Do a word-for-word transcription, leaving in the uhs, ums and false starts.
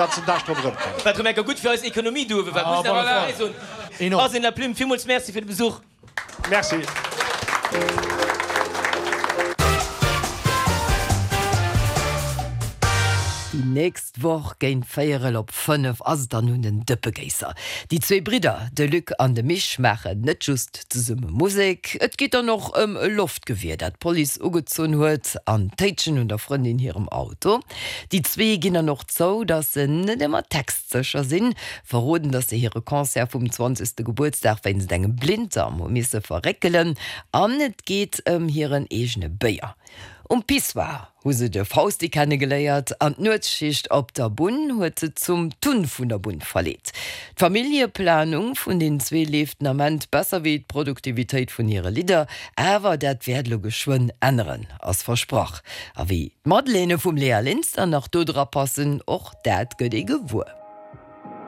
Ganzen Dag drop erëmkommen. Wat rëm enker gutt fir eis Ekonomie do uewe war, muss een awer dobäi soen. Enorm. Arsène Laplume, villmools Merci fir de Besuch. Merci. Déi nächst Woch géint véierel op fënnef ass et dann un den Dëppegéisser. Déi zwee Bridder, de Luc an de Mich, maachen net just zesumme Musek. Et geet dann och ëm e Loftgewier, dat d'Police ugezunn huet, an d'Téitschen un der Frëndin hirem Auto. Déi zwee ginn dann och zou, datt se net ëmmer textsécher sinn, verroden, datt se hire Concert vum zwanzegste Gebuertsdag wéinst engem Blinddarm hu misse verréckelen an et geet ëm hiren eegene Béier. Um Pissoir hu se de Fausti kennegeléiert an d'Nuetsschicht op der Bunn huet se zum Tun vun der Bunn verleet. D'Familljeplanung vun den zwee leeft den Ament besser wéi d'Produktivitéit vun hire Lidder, awer dat wäert elo geschwënn änneren, ass versprach. A wéi d'Madeleine vum Léa Linster nach do dra passen, och dat gëtt ee gewuer.